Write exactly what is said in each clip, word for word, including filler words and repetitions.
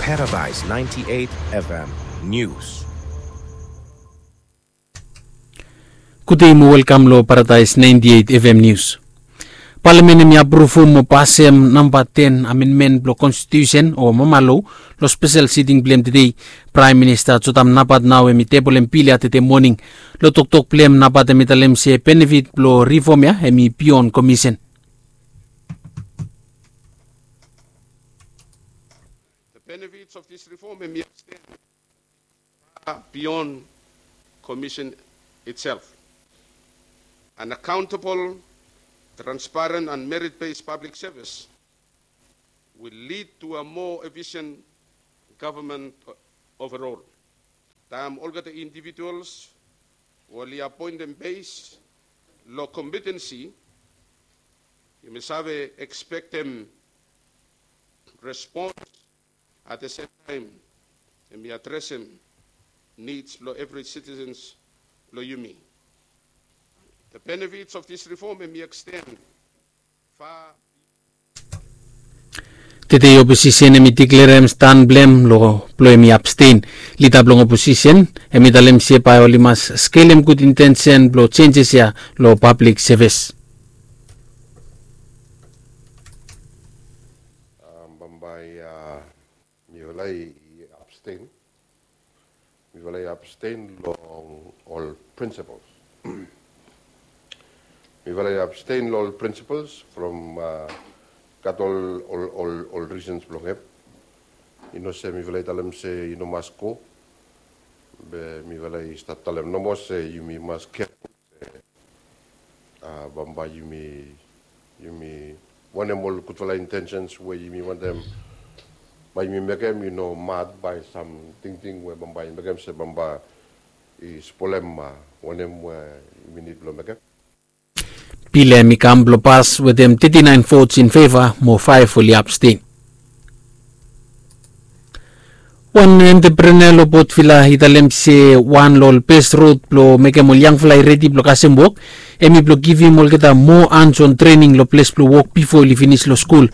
Paradise ninety-eight F M News. Gudei mo welkam lo Paradise ninety-eight F M News. Palamen hemi apruvum mo pasem namba ten amenmen blo konstitiusen o mama lo, lo spesel siting blem tedei. Praem Minista Jotam Napat nao hemi tebolem bil ya tede moning. Lo toktok blem Napat hemi talem se benefit blo rifom ya hemi bion komisen. The benefits of this reform hemi extend far beyond commission itself. An accountable, transparent and merit-based public service will lead to a more efficient government overall. Taem olgeta individuals oli apoentem bes lo kompetensi, yumi save ekspektem respons at the same time, hemi adresem nids blo evri sitisens blo yumi. The benefits of this reform hemi extend far. Tede oposisen hemi diklerem stan blem lo blo hemi abstein. Lida blong oposisen hemi talem se bae oli mas skelem gud intensen blo jenjes ya lo pablik sevis. Bambae mifala i abstein. Mifala i abstein long ol principles. Mifala i abstein long ol principles from gat ol ol ol ol risens blong hem. I no se mifala i talem se i no mas go, be mifala i stap talem nomo se yumi mas keful se bambae yumi yumi wanem ol gudfala intensens we yumi wantem bae yumi mekem i no mad bae sam tingting we bambae i mekem se bambae i spolem wanem we yumi nid blong mekem. Bil ya hemi kam blong pas wetem teti naen vots in feva mo faef oli abstein. Wan entreprenea lo Port Vila i talem se wan lo ol bes rod blong mekem ol yangfala i redi blong kasem wok hemi blong givim olgeta moa anson trening lo ples blong wok bifo oli finis lo skul.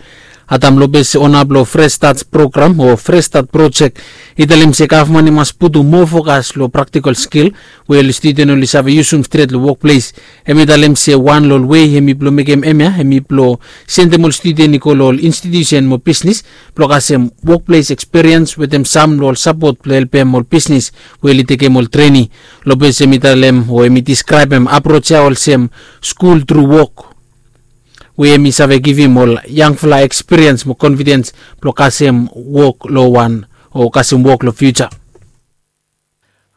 Adam Lopez, ona blong Fresh Start program o Fresh Start projek, i talem se gavman i mas putum moa fokas lo praktikol skil we ol studen oli save yusum stret lo wokples. Hemi talem se wan lo ol wei hemi blong mekem hemia hemi blong sendem ol studen i go lo ol institiusen mo bisnis blong kasem wokples ekspiriens wetem sam lo ol sapot blong helpem ol bisnis we oli tekem ol treni. Lopez hemi talem o hemi diskraebem aproj ya olsem skul tru wok, we hemi save givim ol yangfala ekspiriens mo konfidens blong kasem wok lo wan o kasem wok lo fiuja.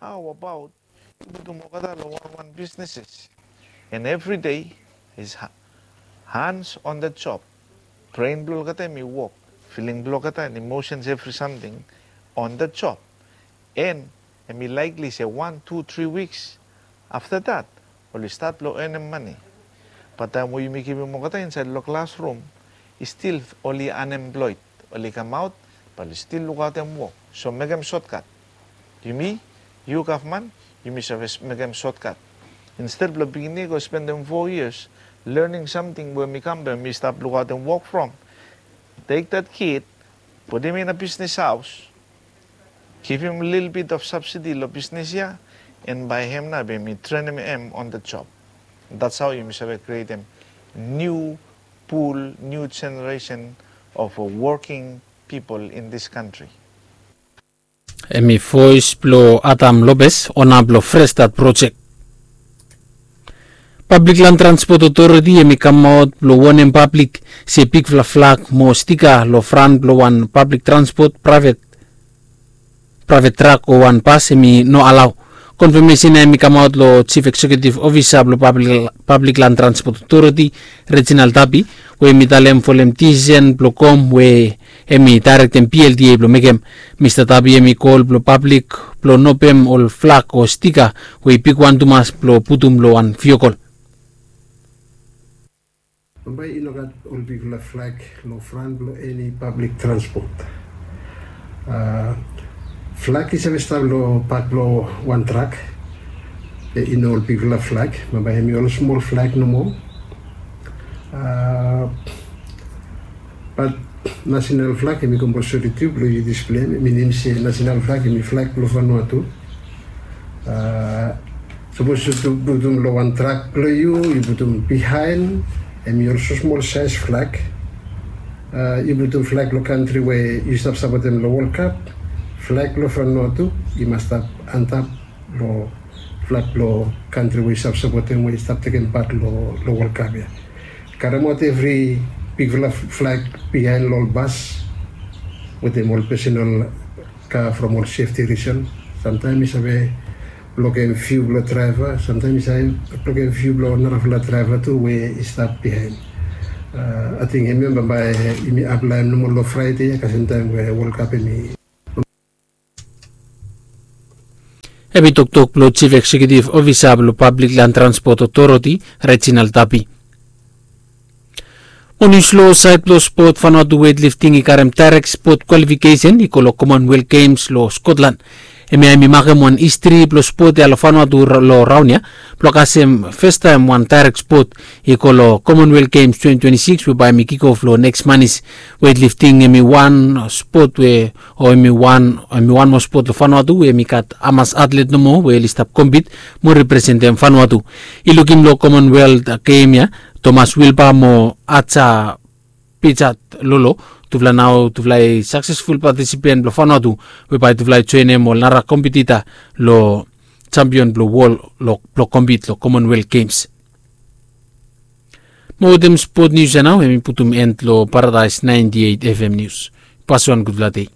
Hao abaot yu putum olgeta long wanwan bisneses? And evri dei is hands on the job. Bren blong olgeta hemi wok, filing blong olgeta and imosens, evri samting on the job. And hemi laikli se wan tu tri wiks afta dat oli stat blong enem mane. Bat taem we yumi kipim olgeta insaed long klasrum, i stil oli anemploed. Oli kamaot, bat oli stil lukaotem wok. So mekem sotkat. Yumi, yu gavman, yumi save mekem sotkat. Insted blong pikinini i go spendem fo yias lening samting we hemi kam blong hemi stap lukaotem wok from, tek dat kid, putum i na bisnis haos, givim lilbit of sabsidi long bisnis ya, and bae hem nao bae yumi trenem hem on the job. That's how yumi save krietem niu pul, niu jeneresen of woking pipol in this kantri. Hemi voes blong Adam Lopez, ona blong Fresh Start projek. Pablik Lan Transpot Otoriti hemi kamaot blong wonem pablik se bigfala flag mo stika long fran blong wan pablik transpot, praevet trak o wan bas hemi no alao. Konfamesen ya hemi kamaot long Jif Eksekiutif Ofisa blong Pablik Lan Transpot Otoriti, Reginald Tapi, we hemi talem folem disisen blong kom we hemi daerektem P L T A blong mekem. Mista Tapi hemi kol blong pablik blong no pem ol flag o stika we i bigwan tumas blong putum long wan viokol. Bambae i no gat ol bigfala flag long fran blong eni pablik transpot. Flag i save stap long bak blong wan trak. I no ol bigfala flag, bambae hemi ol smol flag nomo. Bat Nasenal flag em i komposori tu blong yu displei em i nem se nasenal flag em i flag blong Vanuatu. Sapos yu putum long wan trak blong yu, yu putum bihaen, em i olsem smol saes flag. Yu putum flag long kantri we yu stap sapotem long World Cup, flag blong Vanuatu i mas stap antap long flag blong kantri we yu stap sapotem we yu stap tekem pat long World Cup ya. Karemaot evri bigfala flag bihaen long ol bas wetem ol personal ka from ol sefti risen. Samtaem i save blokem viu blong draeva, samtaem i save blokem viu blong narafala draeva tu we i stap bihaen. Ating hemia bambae yumi aplaem nomo long Fraede ya kasem taem we World Cup em i Hem i toktok blong Chief Executive Officer blong Public Land Transport Authority, Reginald Tapi. Mo nius long saed blong spot, Vanuatu weightlifting i karem direct spot kwalifikesen i go long Commonwealth Games long Scotland. Hemia hem i makem wan histri blong spot ya long Vanuatu long raon ya blong kasem fastaem wan direct spot i go long Commonwealth Games twenty twenty-six we bae hem i kick off long neks manis. Weightlifting hem i wan spot we o hem i wan hem i wan moa spot long Vanuatu we hem i gat hamas atlet nomo we oli stap kompit mo representem Vanuatu. I lukim long Commonwealth Game ya, Thomas Wilba mo Aja Pijat Lolo, tufala nao tufala i saksesful patisipen blong Vanuatu we bae tufala i joenem ol nara kompitita long jampion blong wol blong kompit long Commonwealth Games. Mo wetem spot nius ya nao hem i putum en long Paradise ninety eight F M nius. Pasuan gudfala dei.